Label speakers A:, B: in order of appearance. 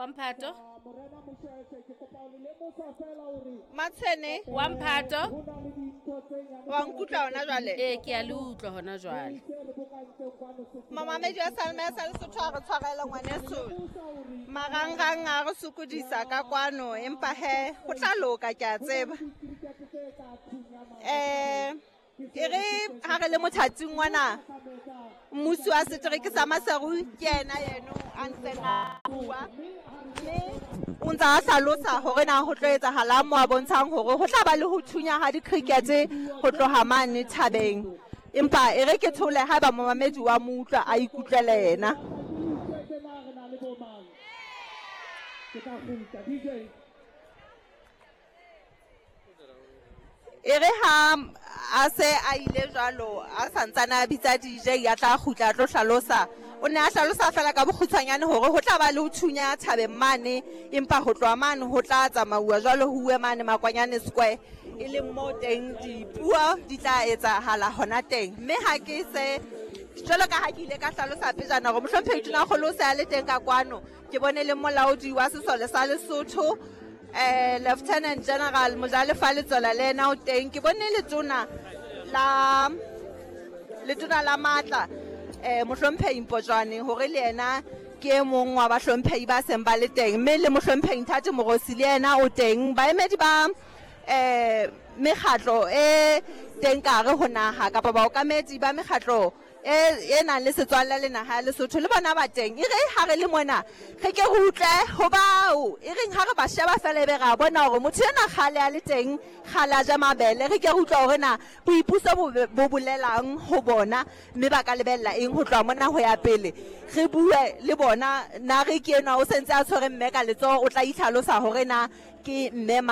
A: Wa mphato.
B: Matshwene.
A: Wa mphato.
B: Wa nkutlwa hona jwale?
A: Ee, ke a le utlwa hona jwale.
B: Mamamedi wa Salma ya sa Lesotho a re tshwarele ngwaneso. Marangrang a re sokodisa ka kwano empa he ho tla loka ke a tseba. Eh e re ha re le mothating ngwana mmusi wa setereke sa Maseru ke yena yeno a ntseng a bua mme o ntse a hlalosa hore na ho tlo etsahalang mo a bontshang hore ho tla ba le ho thunya ha di-cricket ho tloha mane thabeng empa e re ke thole haeba momamedi wa mo utlwa a ikutlwele yena. E re ha a se a ile jwalo a santsane a bitsa DJ ya tla kgutla a tlo hlalosa. O ne a hlalosa fela ka bokgutshwanyane hore ho tla ba le ho thunya thabeng mane empa ho tloha mane ho tla tsamauwa jwalo ho uwe mane Makwanyane Square e leng moo teng dipuo di tla etsahala hona teng. Mme ha ke se jwalo ka ha ke ile ka hlalosa pejana hore mohlomphehi Tonakgolo o se a le teng ka kwano ke bone le molaodi wa sesole sa Lesotho eh Lieutenant General Mojalefa Letsola le ena o teng ke bone letona la letona la matla eh mohlomphehi Mpotjwane hore le ena ke e mong wa bahlomphehi ba seng ba le teng mme le mohlomphehi Nthati Morosi le ena o teng baemedi ba eh mekgatlo e teng ka hare ho naha kapa baokamedi ba mekgatlo e, e nang le setswalle le naha ya Lesotho le bona ba teng. E re ha re le mona re ke re utlwe ho bao e reng ha re ba sheba fela ebe re a bona hore motho enwa kgale a le teng, kgale a ja mabele. Re ke re utlwe hore na boipuso bo, bo bolelang ho bona mme ba ka lebella eng ho tloha mona ho ya pele. Re bue le bona. Na re ke enwa o sentse a tshwere mme ka letsoho o tla itlhalosa hore na ke mme mang.